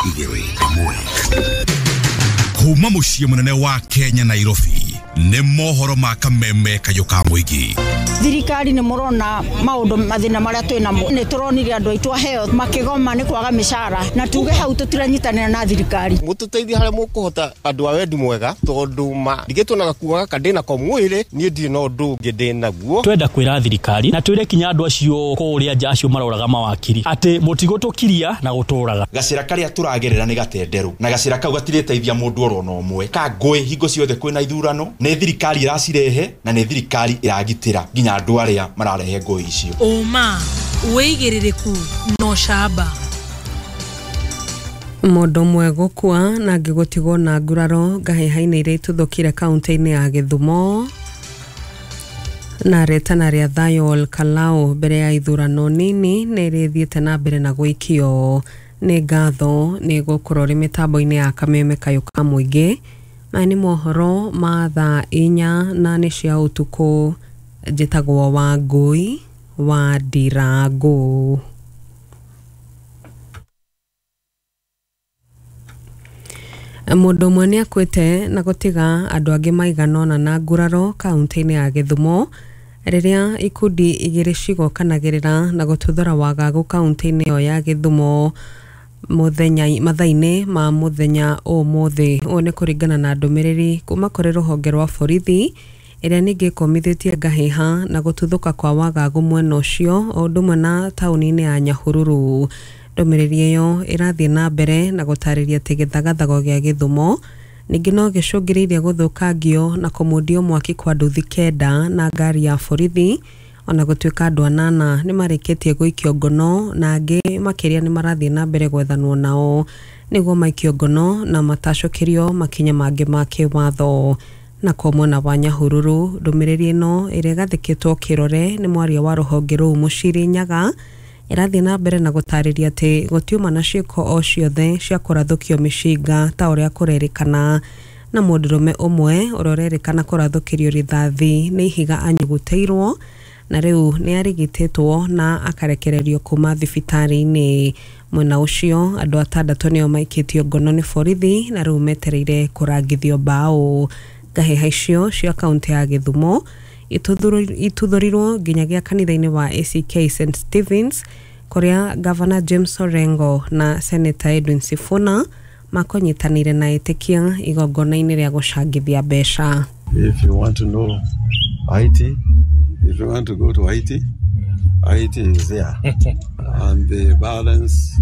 Igĩrĩ ĩmwe kuma mũciĩ mũnene wa Kenya, Nairobi, nĩ mohoro ma kameme kayũ ka mũingĩ. Thirikari nĩ mũrona maũndũ mathĩna marĩa twĩ namo. Nĩ tũronire andũ aitũ aheo makĩgoma nĩ kwaga mĩcara, na tuge hau tũtiranyitanĩra na thirikari. Mũtũteithie harĩa mũkũhota, andũ a wendi mwega, tondũ ma ndigĩtwo na gakuo gaka ndĩ nako mwĩrĩ, niĩ ndirĩ na ũndũ ũngĩ ndĩ naguo. Twenda kwĩra thirikari na twĩre kinya andũ acio kũrĩa nja acio maroraga mawakiri atĩ mũtigũtũkiria na gũtũraga. Gacĩra karĩa tũragerera nĩ gatenderũ, na gacĩra kau gatirĩteithia mũndũ oro na ũmwe. Ka ngũĩ hingo ciothe kwĩna ithurano, nĩ thirikari ĩracirehe na nĩ thirikari ĩragitĩra nginya andũ arĩa mararehe ngũĩ icio. Ũma, wĩigĩrĩrĩku na ũcamba. Mũndũ ũmwe gũkua na angĩ gũtigwo na nguraro ngahĩha-inĩ iria ituthũkire kaunti-inĩ ya Gĩthumo. Na rĩtana rĩa thayũ Ol Kalou mbere ya ithurano nini nĩ rĩthiĩte na mbere na gũikio. Nĩ ngatho nĩ gũkorwo ũrĩ mĩtambo-inĩ ya kameme kayũ ka mũingĩ. Maya nĩ mohoro ma thaa 4 na nĩ cia ũtukũ. Njĩtagwo Wangũi wa Ndirangũ. Mũndũ ũmwe nĩ akuĩte na gũtiga andũ angĩ maigana ũna na nguraro kaunti-inĩ ya Gĩthumo rĩrĩa ikundi igĩrĩ cigokanagĩrĩra na gũtuthũra wagagu kaunti-inĩ ĩyo ya Gĩthumo mũthenya mathaa-inĩ ma mũthenya ũmũthĩ. Ũũ nĩ kũringana na ndũmĩrĩri kuma kũrĩ rũhonge rwa borithi ĩrĩa ningĩ ĩkũmithĩtie ngahĩha na gũtuthũka kwa wagagu mwena ũcio o ũndũ ũmwe na taũni-inĩ ya Nyahururu. Ndũmĩrĩri ĩyo ĩrathiĩ na mbere na gũtarĩria atĩ gĩthagathago gĩa Gĩthumo ningĩ no gĩcũngĩrĩirie gũthũkangio na kũmundio mwaki kwa nduthi 9 na ngari ya borithi, ona gũtuĩka andũ 8 nĩ marĩkĩtie gũikio ngono na angĩ makĩria nĩ marathiĩ na mbere gwethanwo nao nĩguo maikio ngono na matacũkĩrio makinya mangĩ ma kĩwatho. Na kwa mwena wa Nyahururu, ndũmĩrĩri ĩno ĩrĩa ĩgathĩkĩtwo kĩrore nĩ mwaria wa rũhonge rũu Mũciri Nyaga ĩrathiĩ na mbere na gũtarĩria atĩ gũtiuma na ciĩko o ciothe cia kũrathũkio mĩcinga ta ũrĩa kũrerĩkana, na mũndũrũme ũmwe ũrĩa ũrerĩkana kũrathũkĩrio rithathi nĩ ihiga anyugutĩirwo na rĩu nĩ arigitĩtwo na akarekererio kuma thibitarĩ-inĩ. Mwena ũcio andũ 6 nĩo maikĩtio ngono nĩ borithi na rĩu metereire kũrangithio mbaũ. Ngahĩha icio cia kaunti ya Gĩthumo ituthũrirwo nginyagia kanitha-inĩ wa ACK St Stevens kũrĩa Gavana James Orengo na Senator Edwin Sifuna makonyitanĩire na etĩkia igongona-inĩ rĩa gũcangithia mbeca. If you want to know IT, if you want to go to IT, IT is there. And the violence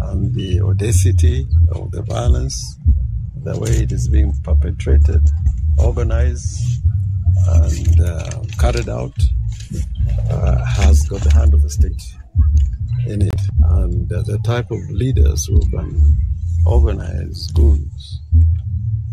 and the audacity of the violence, the way it is being perpetrated, organized, and carried out, has got the hand of the state in it. And the type of leaders who can organize goons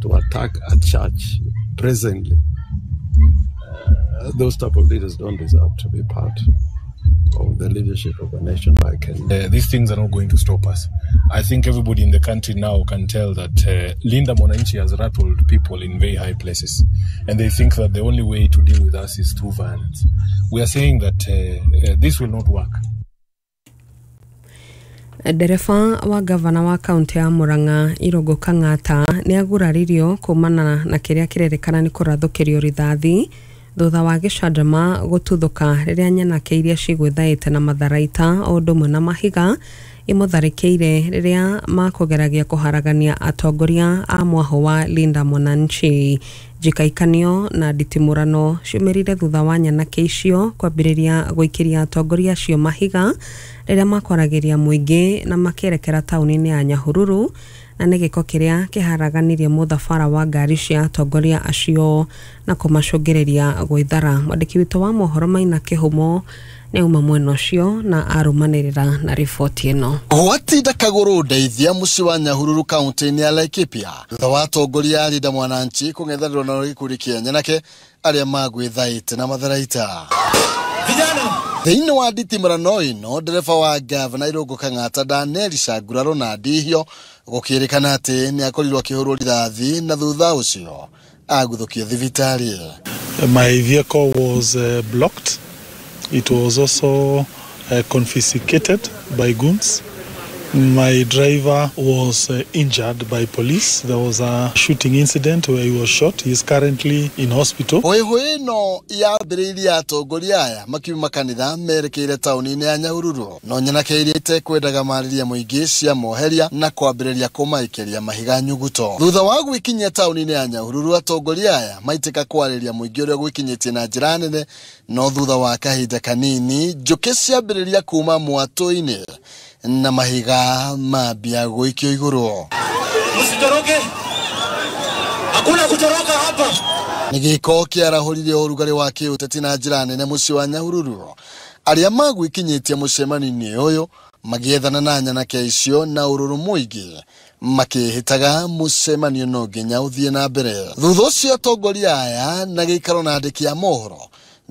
to attack a church presently, those type of leaders don't deserve to be part of the leadership of a nation like Kenya. These things are not going to stop us. I think everybody in the country now can tell that Linda Mwananchi has rattled people in very high places, and they think that the only way to deal with us is through violence. We are saying that this will not work. Ndereba wa gavana wa kaunti ya Murang'a Irũngũ Kang'ata nĩ aguraririo kumana na kĩrĩa kĩrerĩkana nĩ kũrathũkĩrio rithathi thutha wa gĩcanjama gũtuthũka rĩrĩa nyanake iria cigwĩthaĩte na matharaita o ũndũ ũmwe na mahiga imũtharĩkĩire rĩrĩa makũgeragia kũharagania atongoria a mwahũ wa Linda Mwananchi. Njikaikanio na nditimũrano ciumĩrire thutha wa nyanake icio kwambĩrĩria gũikĩria atongoria acio mahiga rĩrĩa makwaragĩria mũingĩ na makĩerekera taũni-inĩ ya Nyahururu, na nĩ gĩko kĩrĩa kĩharaganirie mũthabara wa ngari cia atongoria acio na kũmacũngĩrĩria gwĩthara. Mwandĩki witũ wa mohoro Maina Kĩhumo nĩ auma mwena ũcio na arũmanĩrĩra na riboti ĩno. Gwatinda kagũrũ ndeithia mũciĩ wa Nyahururu kaunti-inĩ ya Laikipia thutha wa atongoria a Linda Mwananchi kũng'ethanĩrwo na gĩkundi kĩa nyanake arĩa magwĩthaĩte na matharaita. Thĩinĩ wa nditimũrano ĩno, ndereba wa gavana Irũngũ Kang'ata Daniel Shanguraro na Ndihio gũkĩrĩkana atĩ nĩ akorirwo akĩhũrwo rithathi na thutha ũcio aguthũkio thibitarĩ. My vehicle was blocked. It was also confiscated by goons. My driver was injured by police. There was a shooting incident where he was shot. He is currently in hospital. Hũĩhũĩ ĩno yambĩrĩirie atongoria aya makiuma kanitha merekeire taũni-inĩ ya Nyahururu, no nyanake iria itekwendaga marĩria mũingĩ cia moheria na kwambĩrĩria kũmaikĩria mahiga nyuguto. Thutha wa gwĩkinyia taũni-inĩ ya Nyahururu, atongoria aya maitĩka kwarĩria mũingĩ ũrĩa gwĩkinyĩtie na njĩra nene, no thutha wa kahinda kanini njũkĩ ciambĩrĩria kuma mwatũ-inĩ na mahiga mambia gũikio igũrũ. Msitoroke, hakuna kutoroka hapa. Nĩ gĩko kĩarahũrire ũrugarĩ wa kĩũteti na njĩra nene mũciĩ wa Nyahururu. Arĩa magwĩkinyĩtie mũcemanio-inĩ ũyũ magĩethana na nyanake icio na ũrũrũ mũingĩ, makĩhĩtaga mũcemanio no nginya ũthiĩ na mbere. Thutha ũcio atongoria aya na gĩikaro na andĩki a mohoro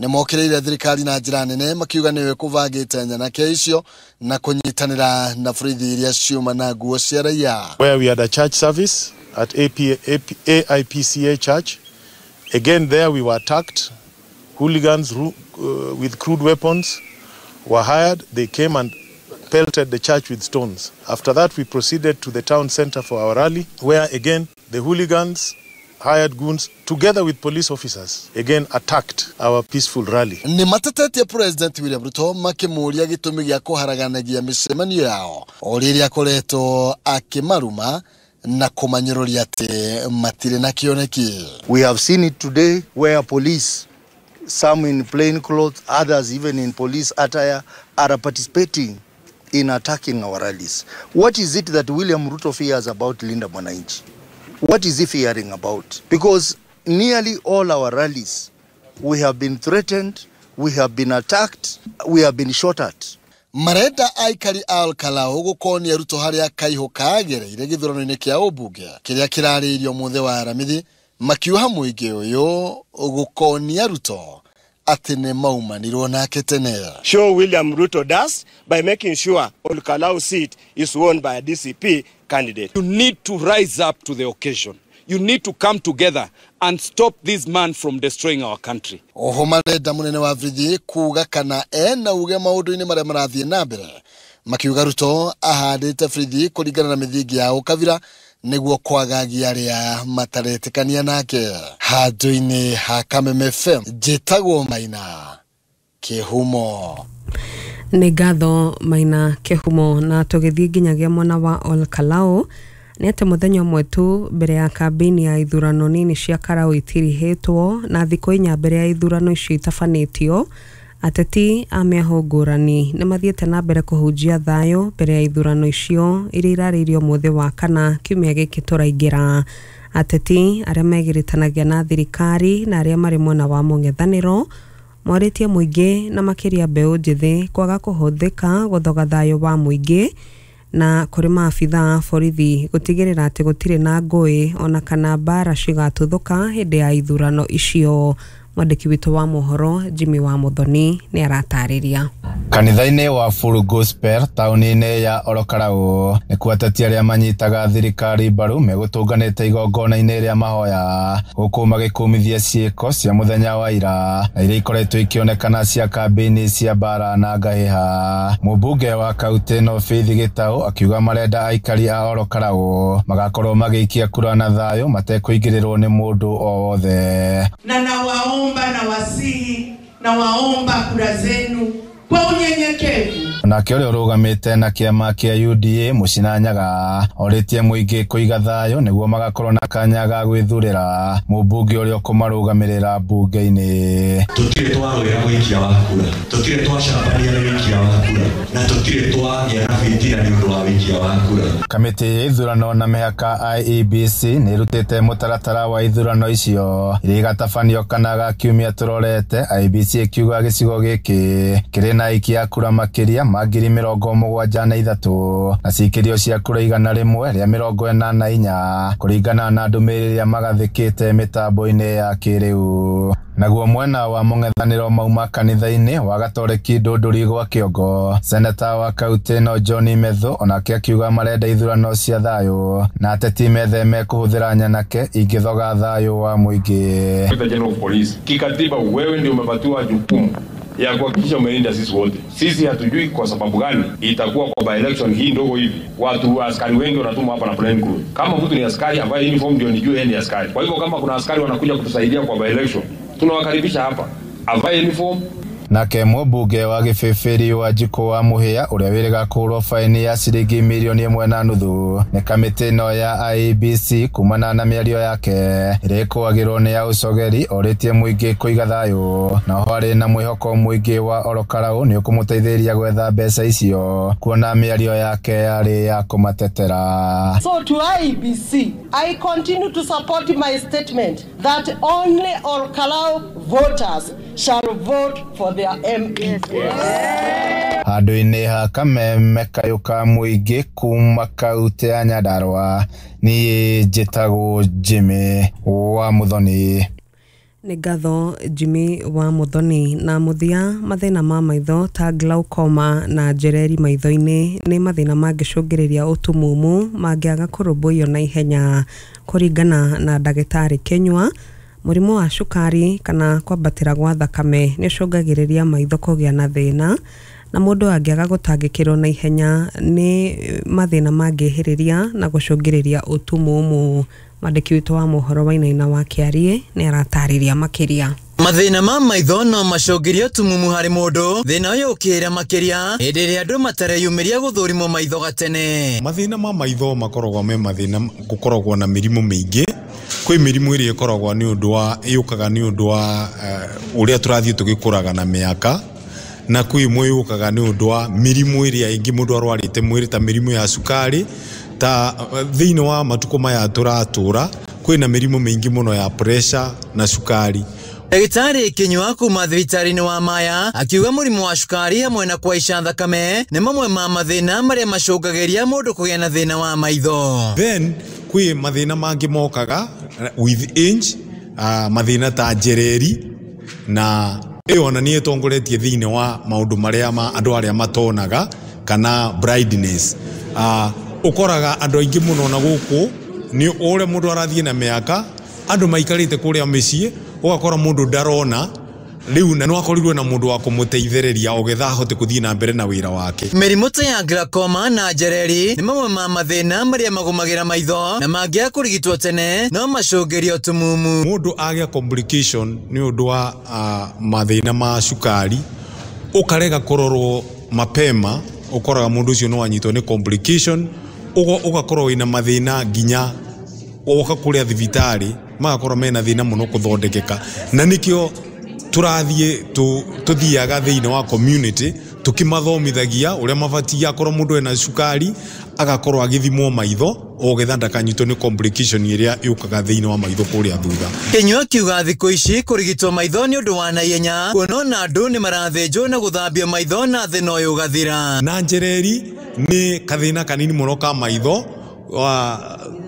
nĩ mokĩrĩire thirikari na njĩra nene, makiuga nĩwe kũbangĩte nyanake icio na kũnyitanĩra na borithi iria ciuma na nguo cia raia. Where we had a church service at AIPCA Church. Again, there we were attacked. Hooligans with crude weapons were hired. They came and pelted the church with stones. After that, we proceeded to the town center for our rally, where again the hooligans, hired goons, together with police officers, again attacked our peaceful rally. Nĩ matetetie President William Ruto makĩmũũria gĩtũmi gĩa kũharaganagia mĩcemanio yao o rĩrĩa akoretwo akĩmaruma na kũmanyũrũria atĩ matirĩ na kĩoneki. We have seen it today where police, some in plain clothes, others even in police attire, are participating in attacking our rallies. What is it that William Ruto fears about Linda Mwananchi? What is he fearing about? Because nearly all our rallies, we have been threatened, we have been attacked, we have been shot at. Marenda aikari a Olkalau gũkonia Ruto harĩa Kaihũ kagereire gĩthurano-inĩ kĩa ũmbunge kĩrĩa kĩrarĩirio mũthĩ wa Aramithi, makiuha mũingĩ ũyũ gũkonia Ruto atĩ nĩ maumanirwo nake tene. Show William Ruto does by making sure Olkalau seat is won by a DCP candidate. You need to rise up to the occasion. You need to come together and stop this man from destroying our country. Oho marenda mũnene wa borithi kuga kana ena uge maũndũ-inĩ marĩa marathiĩ na mbere, makiuga Ruto ahandĩte borithi kũringana na mĩthingi ya ũkabira nĩguo kwagagia arĩa mataretĩkania nake. Handũ-inĩ ha Kameme FM, njĩtagwo Maina Kĩhumo. Nĩ ngatho Maina Kĩhumo. Na tũgĩthiĩ nginyagia mwena wa Olkalau, nĩ atĩ mũthenya ũmwe tu mbere ya kambĩini ya ithurano nini cia Karau itirihĩtwo na thikũ 4 mbere ya ithurano icio itabanĩtio, ateti a mĩahũ ngũrani nĩ mathiĩte na mbere kũhunjia thayũ mbere ya ithurano icio iria irarĩirio mũthĩ wa kana kiumia gĩkĩ tũraingĩra. Ateti arĩa megiritanagia na thirikari na arĩa marĩ mwena wa mũng'ethanĩro morĩtie mũingĩ na makĩria mbeũ njĩthĩ kwaga kũhũthĩka gũthoga thayũ wa mũingĩ na kũrĩ maabitha a borithi gũtigĩrĩra atĩ gũtirĩ na ngũĩ ona kana mbara cigatuthũka hĩndĩ ya ithurano icio. Mwandĩki witũ wa mohoro Jimmy wa Muthoni nĩ aratarĩria. Kanitha-inĩ wa Full Gospel taũni-inĩ ya Olokarau nĩkuo ateti arĩa manyitaga thirikari mbaru megũtũnganĩte igongona-inĩ rĩa mahoya gũkũ magĩkũmithia ciĩko cia mũthenya wa ira na iria ikoretwo ikĩonekana cia kambĩini cia mbara na ngahĩha. Mũmbunge wa kaunti ĩno Faith Gĩtaũ akiuga marenda aikari a Olokarau magakorwo magĩikia kura na thayũ matekũingĩrĩrwo nĩ mũndũ o wothe. Na nawaomba na wasihi na waomba kura zenu kwa unyenyekevu. Onake ũrĩa ũrũgamĩte na kĩama kĩa UDA Mũcina Nyaga orĩtie mũingĩ kũiga thayũ nĩguo magakorwo na kanya ga gwĩthurĩra mũmbunge ũrĩa ũkũmarũgamĩrĩra mbunge-inĩ. Tũtirĩ twarũĩra ũikia wa kura, tũtirĩ twacambania nĩ ũikia wa kura, na tũtirĩ twagĩa na bitina nĩ ũndũ wa ũikia wa kura. Kamĩtĩ ya ithurano na mĩhaka IEBC nĩ ĩrutĩte mũtaratara wa ithurano icio iria igatabanio kana ga kiumia tũrorete, IEBC ĩkiuga gĩcigo gĩkĩ kĩrĩ na aikia kura makĩria ma 73,000 na cikĩrio cia kura 184 kũringana na ndũmĩrĩri ĩrĩa magathĩkĩte mĩtambo-inĩ ya kĩrĩu. Naguo mwena wa mũng'ethanĩro mauma kanitha-inĩ wa Gatoreki Ndũndũri gwa Kĩongo, seneta wa kaunti ĩno John Methu onake akiuga marenda ithurano cia thayũ na ateti metheme kũhũthĩra nyanake ingĩthoga thayũ wa mũingĩ. General of Police, kikatiba wewe ndio umepatiwa jukumu ya kuhakikisha umelinda sisi wote. Sisi hatujui kwa sababu gani itakuwa kwa by election hii ndogo hivi watu askari wengi wanatumwa hapa na plain clothes. Kama mtu ni askari ambaye uniform ndio nijue yeye ni askari. Kwa hivyo kama kuna askari wanakuja kutusaidia kwa by election, tunawakaribisha hapa, avae uniform. Nake mũmbunge wa Gĩbĩbĩri wa Njikũ wa Mũhĩa ũrĩa wĩrĩga kũhũrwo faini ya ciringi mirioni 1.5 nĩ kamĩtĩ ĩno ya IEBC kumana na mĩario yake ĩrĩa ĩkũagĩrwo nĩ ya ũcogeri orĩtie mũingĩ kũiga thayũ na oho arĩ na mwĩhoko mũingĩ wa Olokarau nĩ ũkũmũteithĩrĩria gwetha mbeca icio kuona mĩario yake yarĩ ya kũmatetera. So to IEBC, I continue to support my statement that only Olokarau voters shall vote for their MP. Yes. Handũ-inĩ ha kameme kayũ ka mũingĩ kuma kaunti ya Nyandarua niĩ njĩtagwo Jimmy wa Muthoni. Nĩ ngatho Jimmy wa Muthoni. Na mũthia, mathĩna ma maitho ta glaucoma na njereri maitho-inĩ nĩ mathĩna mangĩcũngĩrĩria ũtumumu mangĩaga kũrũmbũiyo na ihenya. Kũringana na ndagĩtarĩ Kinyua, mũrimũ wa cukari kana kwambatĩra gwa thakame nĩ ũcũngagĩrĩria maitho kũgĩa na thĩna, na mũndũ angĩaga gũtangĩkĩrwo na ihenya nĩ mathĩna mangĩhĩrĩria na gũcũngĩrĩria ũtumumu. Mwandĩki witũ wa mohoro Wainaina wa Kĩarie nĩ aratarĩria makĩria. Mathĩna ma maitho no macũngĩrie ũtumumu harĩ mũndũ, thĩna ũyũ ũkĩhĩra makĩria hĩndĩ ĩrĩa andũ matareyumĩria gũthũrimwo maitho gatene. Mathĩna ma maitho makoragwo me mathĩna gũkoragwo na mĩrimũ mĩingĩ. Kwĩ mĩrimũ ĩrĩa ĩkoragwo nĩ ũndũ wa yũkaga nĩ ũndũ wa ũrĩa tũrathiĩ tũgĩkũraga na mĩaka, na kwĩ ĩmwe yũkaga nĩ ũndũ wa mĩrimũ ĩrĩa ĩngĩ mũndũ arwarĩte mwĩrĩ ta mĩrimũ ya cukari. Ta thĩinĩ wa matukũ maya tũratũra kwĩna mĩrimũ mĩingĩ mũno ya pressure na cukari. Ndagĩtarĩ Kinyua kuma thibitarĩ-inĩ wa Maya akiuga mũrimũ wa cukari hamwe na kũhaica thakame nĩ mamwe ma mathĩna marĩa macũngagĩria mũndũ kũgĩa na thĩna wa maitho. Then kwĩ mathĩna mangĩ mokaga with age, mathĩna ta njereri na ĩyo ona nĩ ĩtongoretie thĩinĩ wa maũndũ marĩa ma andũ arĩa matonaga kana blindness. Ũkoraga andũ aingĩ mũno na gũkũ nĩ ũrĩa mũndũ arathiĩ na mĩaka andũ maikarĩte kũrĩa mĩciĩ ũgakora mũndũ ndarona rĩu na nĩwakorirwo na mũndũ wa kũmũteithĩrĩria ogetha ahote kũthiĩ na mbere na wĩra wake. Mĩrimũ ta ya glaucoma na njereri nĩ mamwe ma mathĩna marĩa magũmagĩra maitho na mangĩaga kũrigitwo tene no macũngĩrie ũtumumu. Mũndũ agĩa complication nĩ ũndũ wa mathĩna ma cukari ũkarega kũrorwo mapema, ũkoraga mũndũ ũcio no anyitwo nĩ complication, ũgakorwo wĩna mathĩna nginya woka kũrĩa thibitarĩ magakorwo mena thĩna mũno kũthondekeka, na nĩkĩo tũrathiĩ tũthiaga thĩinĩ wa community tũkĩmathomithagia ũrĩa mabatiĩ akorwo mũndũ ena cukari agakorwo agĩthimwo maitho ogetha ndakanyitwo nĩ complication ĩrĩa yũkaga thĩinĩ wa maitho kũrĩa thutha. Kinyua akiuga thikũ ici kũrigitwo maitho nĩ ũndũ wa naihenya kuona ona andũ nĩ marathĩnjwo na gũthambio maitho na thĩna ũyũ ũgathira. Na njereri nĩ kathĩna kanini mũno ka maitho,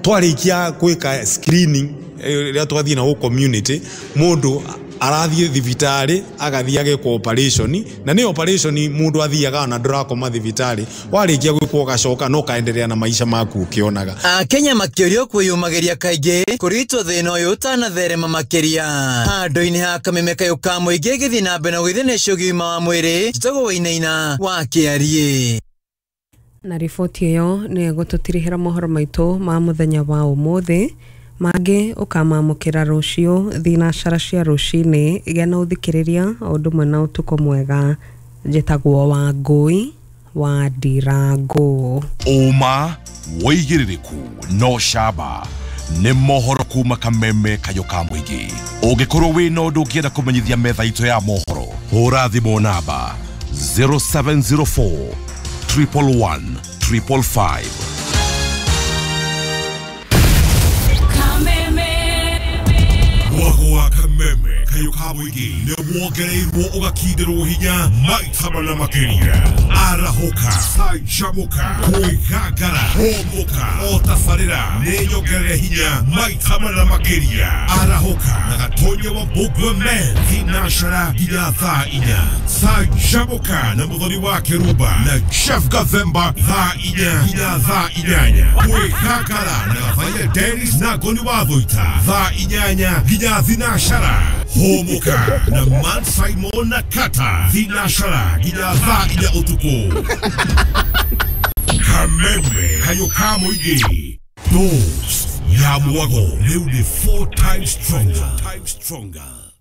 twarĩkia gwĩka screening rĩrĩa twathiĩ na gũ community mũndũ arathiĩ thibitarĩ agathiĩ agekwo operation, na nĩ operation mũndũ athiaga na ndũrakoma thibitarĩ, warĩkia gwĩkwo ũgacoka no ũkaenderea na maica maku ũkĩonaga. Akenya makĩũrio kwĩyũmagĩria kaingĩ kũrigitwo thĩna ũyũ ũtanatherema makĩria. Handũ-inĩ ha kameme kayũ ka mũingĩ gĩthiĩ na mbere na gũgĩthĩnĩcio ũgima wa mwĩrĩ, njĩtagwo Wainaina wa Kĩarie. Na riboti ĩyo nĩ ĩgũtũtirihĩra mohoro maitũ ma mũthenya wa ũmũthĩ. Mangĩ ũkamamũkĩra rũciũ thinacara cia rũcinĩ. Gĩa na ũthikĩrĩria o ũndũ ũmwe na ũtukũ mwega. Njĩtagwo Wangũi wa Ndirango. Ũma wĩigĩrĩrĩku no camba nĩ mohoro kuma kameme kayũ ka mũingĩ. Ũngĩkorwo wĩna ũndũ ũngĩenda kũmenyithia metha itũ ya mohoro, hũra thimũ namba 0704 111 555. Mwago wa kameme kayũ ka mũingĩ nĩ wongereirwo ũgakindĩrwo hinya maita mana makĩria. Arahũka, canjamũka, kwĩgangara, hũmũka, o tabarĩra nĩ nyongerere hinya maita mana makĩria. Arahũka na Gatonya wa Mbũgua Men thinacara nginya thaa 4. Canjamũka na Mũthoni wa Kĩrumba na Chef Gathemba thaa 4 nginya thaa 8. Kwĩgangara na Gathaiya Dennis na Ngoni wa Thũita thaa 8 nginya thinacara. Hũmũka na Man Simon na Kata thinacara nginya thaa 4 ũtukũ. Kameme kayũ ka mũingĩ. Dose ya mwago rĩu nĩ 4 times stronger.